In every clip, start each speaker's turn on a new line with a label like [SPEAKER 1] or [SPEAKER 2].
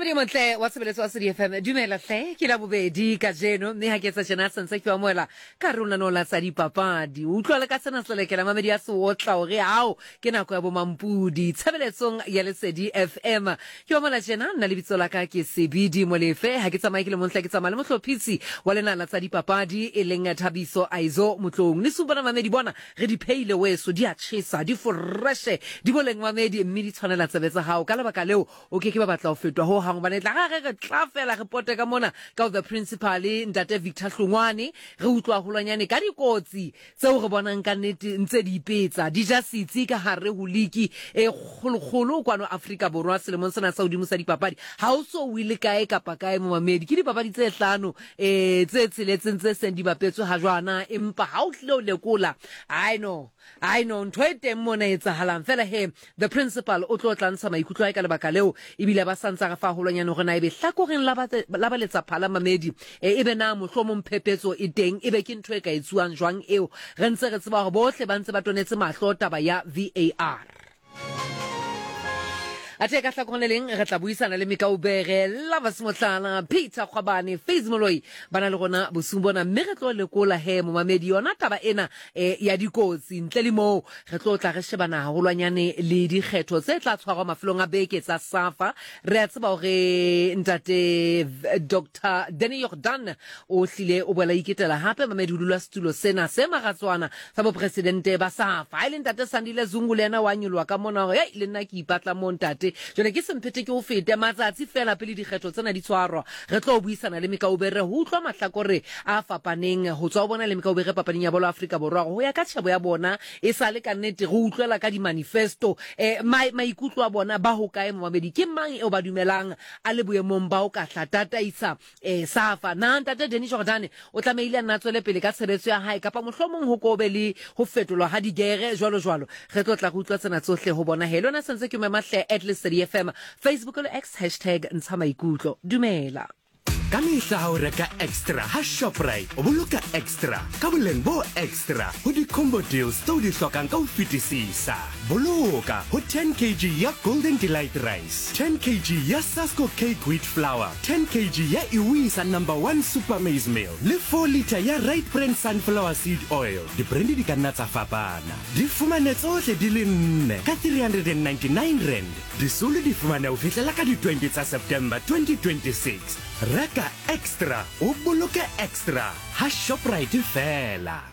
[SPEAKER 1] Mamedi montle wa tshebeletso wa Sedi FM, dumela hle, ke la bobedi kajeno mme ha ke etsa tjena sentse ke amohela ka re o lenaneo la tsa dipapadi. O utlwa le ka sena selekela Mamedi a se otla hore ao ke nako ya bomampudi tshebeletsong ya Lesedi FM. Ke amohela tjena nna lebitso la ka ke Sebidi Molefe, ha ke tsamaye ke le mong hle, ke tsamaya le mohlophisi wa lena la tsa dipapadi e leng Thabiso Aizo Motloung. Le supana Mamedi bona Re di phehile weso, di a tjhesa, di foreshe, di boleng mamedi, mme di tshwanela tsebe tsa hao. Ka lebaka leo, o ke ke ba batla ho fetwa ho hang, hobane e tla re re tla fela re pote ka mona ka ho the principal, Ntate Victor Hlongwane, re utlwa haholwanyane ka dikotsi tseo re bonang ka nnete ntse di ipetsa, di ja setsi ka hare ho liki e kgolokgolo kwano Afrika Borwa selemong sena sa hodimo sa dipapadi. Ha o so wile kae kapa kae momamedi, ke dipapadi tse hlano Ee, tse tsheletseng tse seng di bapetswe ha jwana, empa ha o tlile o lekola, ai no, ai no, ntho e teng mona e etsahalang. Fela he, the principal o tlo tla ntsha maikutlo a hae ka lebaka leo, ebile ba sa ntsa re fa haholwanyane hore na ebe hlakoreng la ba, la ba letsaphala mamedi, e, ebe na mohlomong phephetso e teng, ebe ke ntho e ka etsuwang jwang eo, re ntse re tseba hore bohle ba ntse ba tonetse mahlo taba ya VAR. Athe ka hlakoreng le leng re tla buisana le Mikaubere, Lovers Motlala, Peter Kgwabane, Faiz Moloi ba na le rona bosiung bona mme re tlo lekola he momamedi yona taba ena e, ya dikotsi. Ntle le moo re tlo tla re shebana haholwanyane le dikgetho tse tla tshwarwa mafelong a beke tsa SAFA. Re a tseba hore ntate Dr. Danny Jordaan o hlile o boela iketela hape mamedi ho dula setulo sena se maratswana sa bopresidente ba SAFA. Ha e le ntate Sandile Zungu le yena wa nyoloha ka mona hore hei le nna ke ipatla moo ntate. Jwale ke semphete ke o fete matsatsi feela pele dikgetho tsena di tshwarwa. Re tlo buisana le Mikaubere ho utlwa mahlakore a fapaneng ho tswa ho bona le Mikaubere papading ya bolo Afrika Borwa hore ho ya ka tjhebo ya bona e sale ka nnete re utlwela ka di-manifesto eh, maikutlo a bona ba hokae momamedi ke mang eo ba dumelang a le boemong ba ho ka hla tataisa E, Safa, na Ntate Danny Jordaan o tlamehile a nna a tswele pele ka tshebetso ya hae kapa mohlomong ho ko be le ho fetolwa ha digere jwalo jwalo? Re tlo tla re utlwa tsena tsohle ho bona he. Le wena sentse ke o mema hle at Lesedi FM, Facebook le X hashtag ntsha maikutlo. Dumela.
[SPEAKER 2] Ka mehla ha o reka extra ha Shoprite, o boloka extra ka boleng bo extra ho di-combo deals tse o di hlokang ka ho fetisisa. Boloka ho 10 kg ya Golden Delight Rice, 10 kg ya Sasko Cake Wheat Flour, 10 kg ya Iwisa Number One Super Maize Meal le 4 litre ya Right Brand Sunflower Seed Oil. Dibrand di ka nna tsa fapana. Di fumane tsohle di le nne ka R399. Disolo di fumaneha ho fihlela ka di 20 tsa September 2026. Reka extra o boloke extra ha Shoprite feela.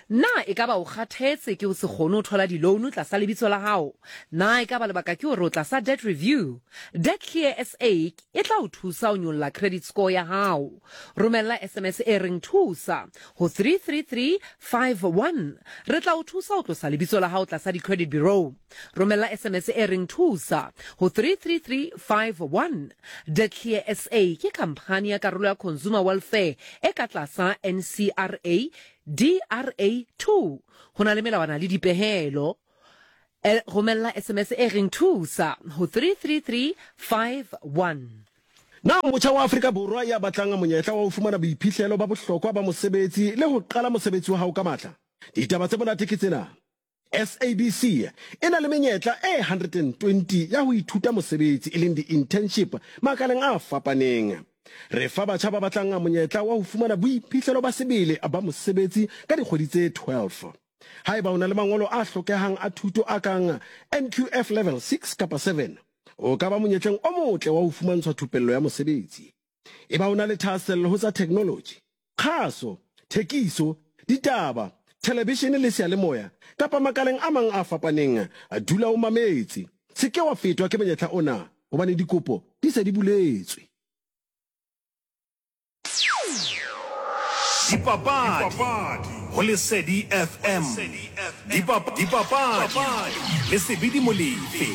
[SPEAKER 1] Na ekaba o kgathetse ke ho se kgone ho thola di-loan tlasa lebitso la hao? Na ekaba lebaka ke hore o tlasa debt review? Debt Clear SA e tla o thusa ho nyolla credit score ya hao. Romella SMS e reng Thusa ho 33351. Re tla o thusa ho tlosa lebitso la hao tlasa di-credit bureau. Romella SMS e reng Thusa ho 33351. Debt Clear SA ke khamphani ya karolo ya Consumer Welfare e ka tlasa NCRA DRA 2. Ho na le melawana le dipehelo. Romella SMS e reng Thusa ho 33351.
[SPEAKER 3] Na o motjha wa Afrika Borwa ya batlang monyetla wa ho fumana boiphihlelo ba bohlokwa ba mosebetsi le ho qala mosebetsi wa hao ka matla? Ditaba tse monate ke tsena, SABC e na le menyetla e 120 ya ho ithuta mosebetsi e leng di-internship makaleng a fapaneng. Re fa batjha ba batlang monyetla wa ho fumana boiphihlelo ba sebele ba mosebetsi ka dikgwedi tse 12. Haeba o na le mangolo a hlokehang a thuto a kang NQF Level 6 kapa 7, o ka ba monyetleng o motle wa ho fumantshwa thupello ya mosebetsi. Eba o na le thahasello ho tsa theknoloji, kgaso, thekiso, ditaba, thelebishene le seyalemoya, kapa makaleng a mang a fapaneng, dula o mametse. Se ke wa fetwa ke monyetla ona hobane dikopo di se di buletswe.
[SPEAKER 4] Dipapadi go Lesedi FM. Dipapadi le Sebidi Molefe.